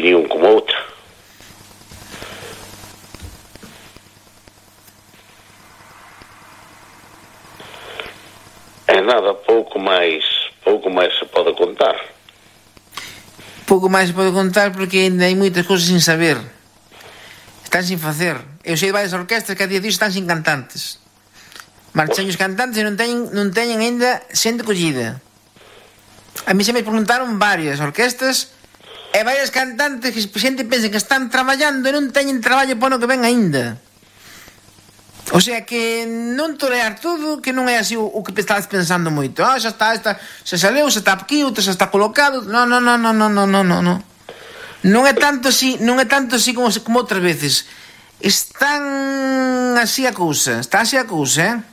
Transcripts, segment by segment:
opinión como outra. E nada, pouco máis se pode contar. Pouco máis se pode contar porque ainda hai moitas cousas sin saber. Están sin facer. Eu sei de varias orquestas que a día de hoxe están sin cantantes. Marchan os cantantes e non teñen ainda xente collida. A mí se me preguntaron varias orquestas e varias cantantes que a xente pensa que están traballando e non teñen traballo para o que ven ainda. O sea que non torear todo, que non é así o que estás pensando moito. Xa está, xa saleu, xa está aquí, outra xa está colocado. Non. Non é tanto así como outras veces. Están así a cousa, está así a cousa,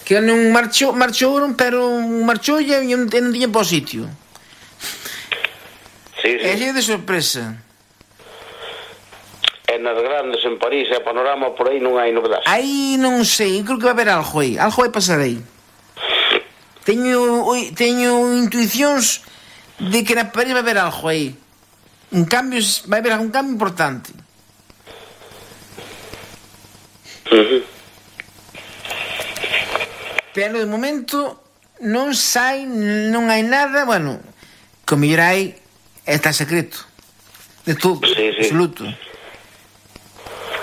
que non marchouron, pero marchoulle e non tiña para o sitio. Sí. É así de sorpresa. E nas grandes, en París e Panorama, por aí non hai novedades. Aí non sei, creo que vai haber algo aí pasar aí. Teño intuicións de que na París vai haber algo aí. Vai haber algún cambio importante. Pero de momento non hai nada, bueno, que o mellor hai está secreto de todo, absoluto.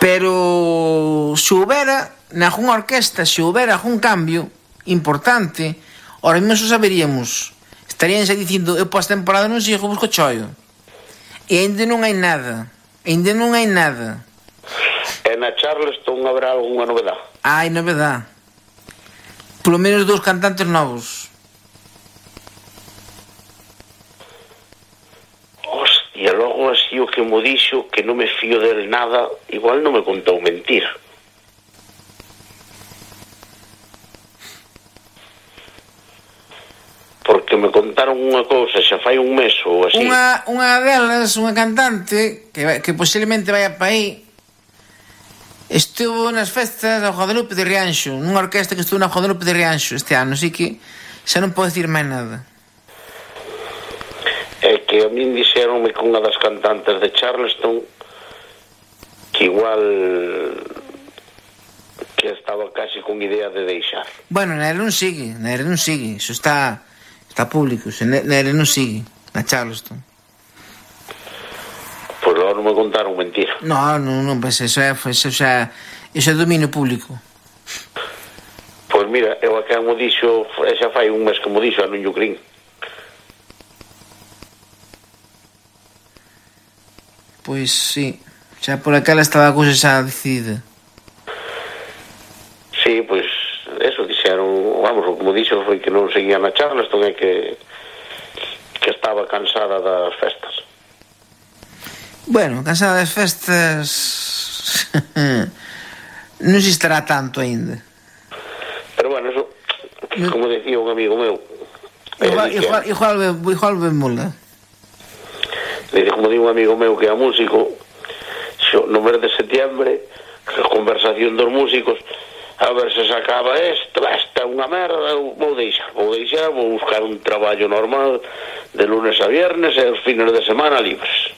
Pero se houbera nalgúna orquesta, se houbera algún cambio importante, ahora mesmo saberíamos. Estarían xa dicindo, eu para esta temporada non sigo, busco choio. E ainda non hai nada. E na Charleston haberá algunha novedade? Hai novedade. Polo menos 2 cantantes novos. Hostia, logo así o que mo dixo, que non me fío del nada, igual non me contou mentira. Porque me contaron unha cousa xa fai un mes ou así. Unha delas, unha cantante que posiblemente vaya para aí, estuvo nas festas do Guadalupe de Rianxo, nunha orquesta que estuvo na Guadalupe de Rianxo este ano, así que xa non podo dicir máis nada. É que a min dixeronme que unha das cantantes de Charleston que igual que estaba casi con idea de deixar. Bueno, na era non sigue, iso está público, na era non sigue, na Charleston. Pois logo non me contaron mentira. Non, pues eso é dominio público. Pois mira, eu a quen mo dixo, xa fai un mes que mo dixo, a non yo crin. Pois sí, xa por aquela estaba a cousa xa decidida. Sí, pois eso dixeron, vamos, o que mo dixo foi que non seguía na Charleston e que estaba cansada das festas. Bueno, cansada das festas non se estará tanto aínda. Pero bueno, eso, como decía un amigo meu, igual vémola. Como di un amigo meu que é músico, no mes de setiembre, a conversación dos músicos, a ver se se acaba esta é unha merda, vou deixar, vou buscar un traballo normal de lunes a viernes e os fines de semana libres.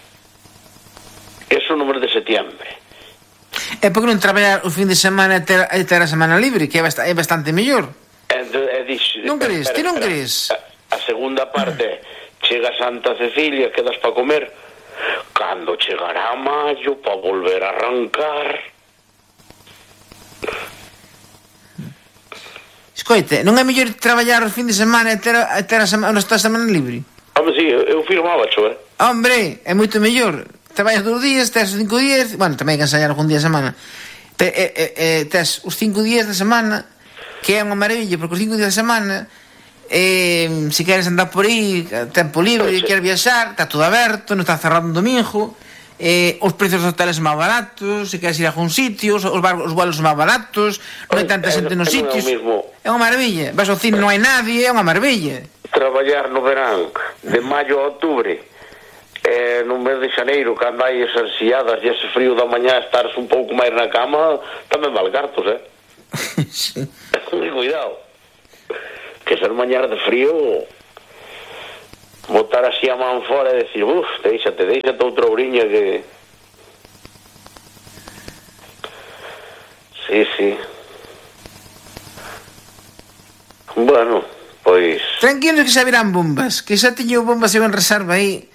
Eso no mes de setiembre. E por que non traballar o fin de semana e ter a semana libre, que é bastante mellor? Non crees? Ti non crees? A segunda parte, chega Santa Cecilia, quedas para comer, cando chegará maio para volver a arrancar. Escoite, non é mellor traballar o fin de semana e ter a semana libre? Home, si, eu firmaba, cho, Hombre, é moito mellor. Traballas 2 días, tes 5 días, bueno, tamén hai que ensayar algún día a semana. Tes os 5 días da semana, que é unha maravilla, porque os 5 días da semana, se queres andar por aí, tempo libre, queres viaxar, está todo aberto, non está cerrado un domingo, os precios dos hoteles son máis baratos, se queres ir a algún sitio, os vuelos son máis baratos, non hai tanta xente nos sitios. É unha maravilla. Vas ao cine, non hai nadie, é unha maravilla. Traballar no verán, de maio a outubro, no mes de xaneiro, cando hai esas xiadas e ese frío da mañá, estares un pouco máis na cama, tamén vale cartos, Sí. Cuidado, que ser mañar de frío botar así a man fora e decir, déixate outra ouriña que... Sí. Bueno, pois... Tranquilos que xa virán bombas, que xa teño bombas en reserva aí.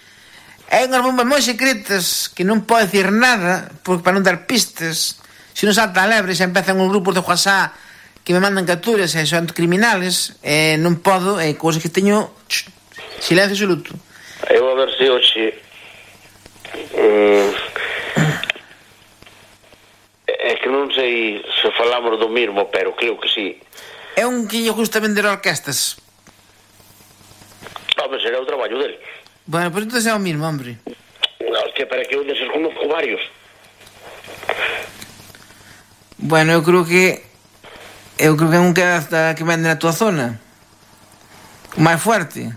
Hai unhas bombas moi secretas que non pode decir nada, porque para non dar pistas. Se non salta a lebre, xa empezan os grupos de WhatsApp que me mandan capturas e son criminales, non podo, cousas que teño silencio absoluto. Eu a ver se hoxe é que non sei se falamos do mismo, pero creo que sí. É un que lle gusta vender orquestas. Home, será o traballo dele. Bueno, pues entonces é o mismo, hombre. No, hostia, para que onde se conozco varios. Bueno, eu creo que é un que vende na tua zona. O máis fuerte.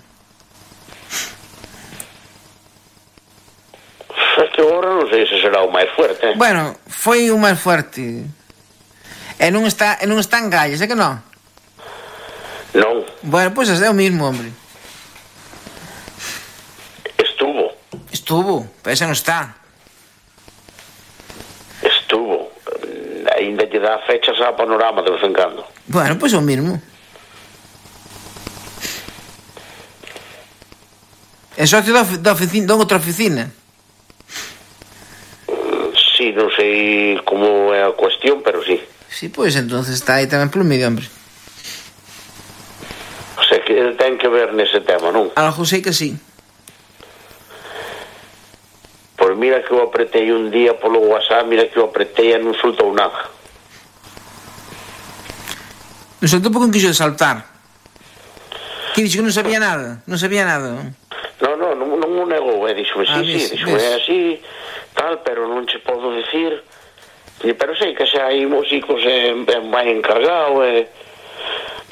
É que agora non sei se será o máis fuerte. Bueno, foi o máis fuerte. E non está en Galles, é que non? Non. Bueno, pois é o mismo, hombre. Estuvo, pero ese non está. Estuvo. Ainda lle dá fechas a Panorama de vez en cando. Bueno, pois o mismo. É socio da outra oficina. Sí, non sei como é a cuestión, pero sí. Sí, pois entonces está aí tamén polo medio, hombre. O sea, que ten que ver nese tema, non? Algo sei que sí. Pois mira que eu apretei un día polo WhatsApp, mira que eu apretei e non soltou nada. Non soltou porque non quixo saltar. Que dixo que non sabía nada. Non sabía nada. Non o negou, dixo, dixo, é así, tal, pero non che podo dicir. Pero sei que xa hai músicos vai encargado,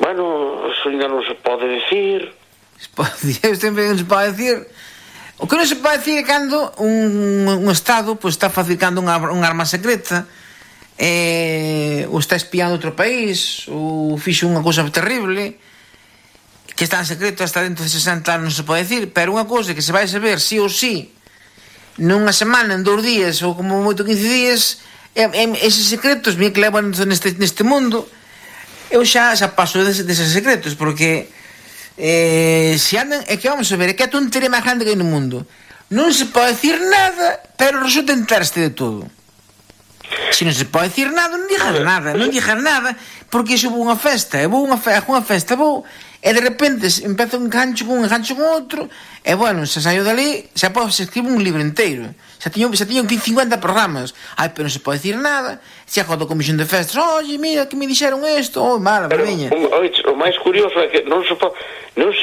bueno, eso ainda non se pode dicir. Sempre non se pode dicir. O que non se pode dicir é cando un Estado pues, está fabricando unha arma secreta, ou está espiando outro país, ou fixo unha cousa terrible, que está en secreto hasta dentro de 60 anos, non se pode dicir, pero unha cousa que se vai saber sí ou sí, nunha semana, en 2 días, ou como moito 15 días, eses secretos, bien que levan neste mundo, eu xa paso deses secretos, porque... se andan, é que vamos a ver, é que a tontería máis grande que hai no mundo. Non se pode dicir nada, pero resulta enterste de todo. Se non se pode dicir nada, non digas nada, porque iso vou unha festa, e de repente empezo un gancho con outro, e bueno, se saio dali, xa escribo un libro inteiro. Xa tiño 50 programas. Ai, pero non se pode dicir nada. Se acordo a comisión de festas, oye, mira, que me dixeron isto, mala, verdeña. O máis curioso é que non se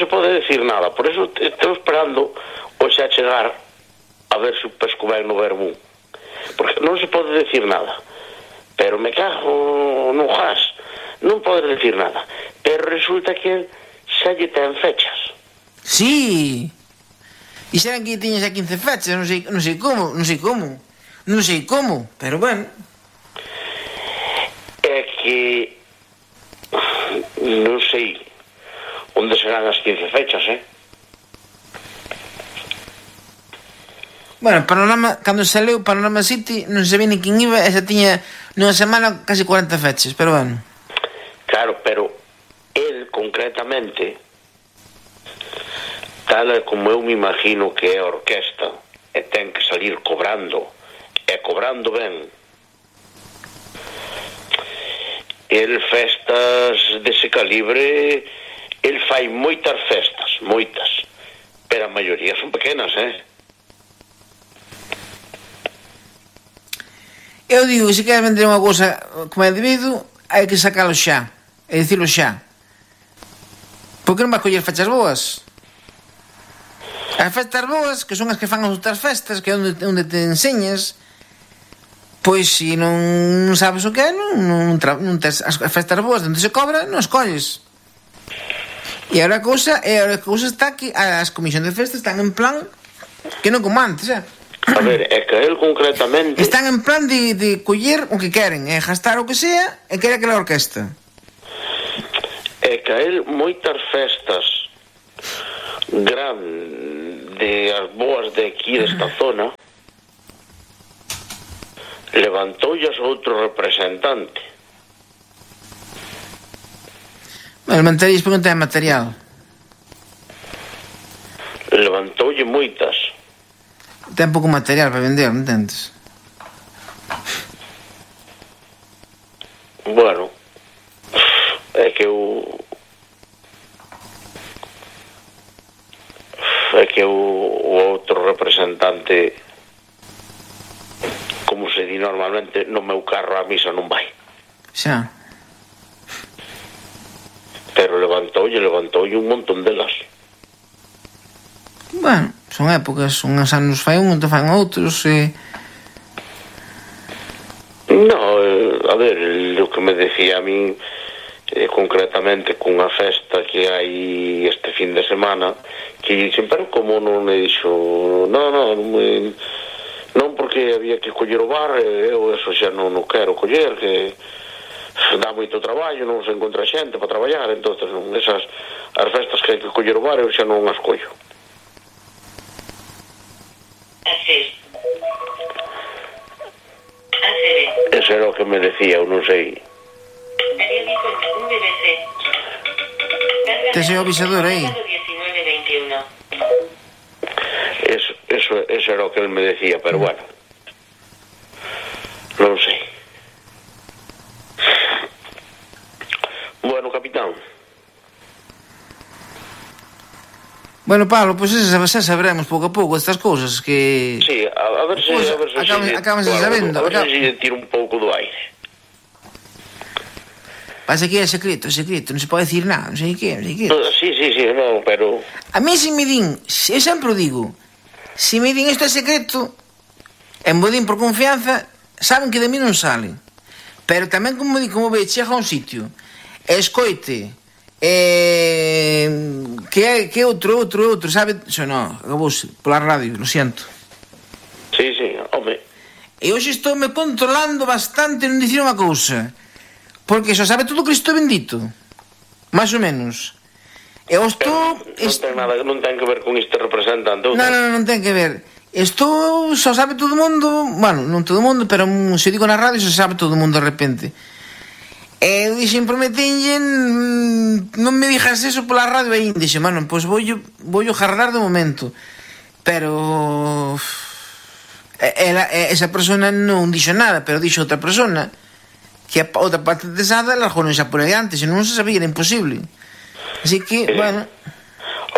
pode decir nada. Por eso estou esperando hoxe a chegar a ver se pesco ben no verbo. Porque non se pode decir nada. Pero me cago no gas. Non pode decir nada. Pero resulta que xa lle ten fechas. Sí. E serán que tiñas a 15 fechas, non sei como, pero bueno. É que non sei onde serán as 15 fechas, Bueno, Panorama, cando saleu Panorama City, non sabía ni quen iba, e xa tiña nunha semana casi 40 fechas, pero bueno. Claro, pero el concretamente, tal como eu me imagino que é a orquesta, e ten que salir cobrando, e cobrando ben. El festas dese calibre, el fai moitas festas, pero a maioría son pequenas, Eu digo que se queres vender unha cousa como é debido, hai que sacalo xa, e dicilo xa. Por que non vas coller fechas boas? As festas boas, que son as que fan as outras festas, que é onde te enseñas, pois se non sabes o que é, non tes as festas boas onde se cobra, non escolles. E agora a cousa está que as comisións de festas están en plan que non como antes, A ver, é que el concretamente... Están en plan de coller o que queren, gastar o que sea, e quere aquela orquesta. É que el moitas festas grande as boas de aquí desta zona levantoullas outro representante. Bueno, manterías porque non ten material. Levantoulle moitas. Ten pouco material para vender, non entendes? Bueno, é que o outro representante, como se di normalmente, no meu carro a misa non vai. Xa. Pero levantoulle un montón delas. Bueno, son épocas, uns anos fai un, outro fan outros, No, a ver, o que me decía a min concretamente cunha festa que hai este fin de semana, que sempre como non me dixo non porque había que coller o bar, eu eso xa non quero coller, que dá moito traballo, non se encontra xente para traballar, entonces esas as festas que hai que coller o bar eu xa non as collo. Eso era o que me decía, eu non sei. tes o avisador aí. Eso era o que él me decía, pero bueno, non sei. Bueno, capitán. Bueno, Pablo, pois xa sabremos pouco a pouco estas cousas que... Sí, a ver se... Acabamos sabendo. A ver se lle tiro un pouco do aire. Pasa que é secreto, non se pode decir nada, non sei que. Sí, non, pero... A mí se me din, eu sempre o digo, se me din isto é secreto, e me din por confianza, saben que de mí non salen. Pero tamén como ve, chega a un sitio, e escoite, que outro, sabe? Xo, non, acabouse, pola radio, lo siento. Sí, home. E hoxe estou me controlando bastante non dicir unha cousa, porque xo sabe todo Cristo bendito, máis ou menos. Eu estou... Non ten que ver con este representante. Non ten que ver. Isto só sabe todo o mundo, bueno, non todo o mundo, pero se digo na radio só sabe todo o mundo de repente. E dixen, prometenlle, non me dixas eso pola radio aí. Dixen, bueno, pois vou jardar de momento. Pero esa persona non dixo nada, pero dixo outra persona que a outra parte desada largou xa por aí antes, e non se sabía, era imposible. Así que, bueno...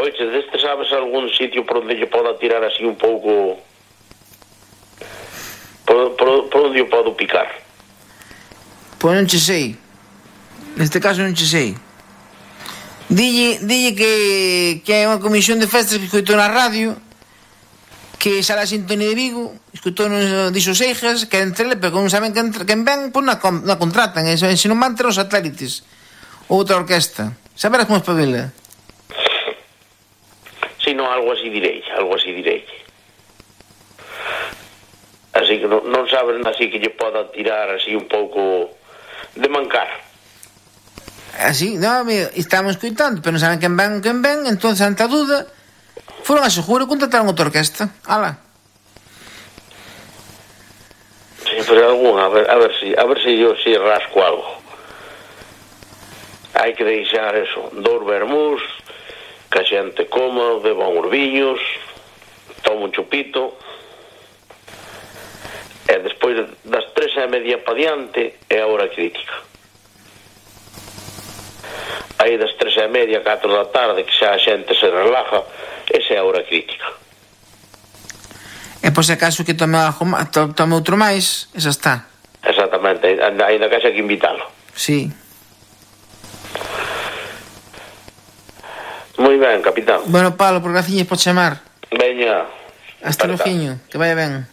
Oiche, deste sabes algún sitio por onde lle poda tirar así un pouco... Por onde o podo picar? Pois non che sei. Neste caso non che sei. Dille que hai unha comisión de festas que escoitou na radio, que xa a sintonía de Vigo, escoitou nos dixo Seijas, que entre ele, pero non saben quen ven, pois na contratan, e se non van ter os satélites. Outra orquesta. Saberás como espabila. Si, non, algo así direi. Así que non saben así que lle poda tirar así un pouco de mancar. Así, non, estamos escoitando, pero non saben quen ven, entón, ante a dúda, foron a seguro e contrataron outra orquesta. Ala. Sí, pero alguna, a ver se yo si rasco algo. Hai que deixar eso, 2 vermús, que a xente coma, beba uns viños, toma un chupito, e despois das 3:30 pa diante é a hora crítica. Aí das 3:30, 4 da tarde, que xa a xente se relaja, esa é a hora crítica. E por se acaso que tome outro máis, esa está. Exactamente, ainda que xa que invitalo. Sí. Moi ben, capitán. Bueno, Pablo, por graciñas por chamar. Veña. Hasta logo, que vaya ben.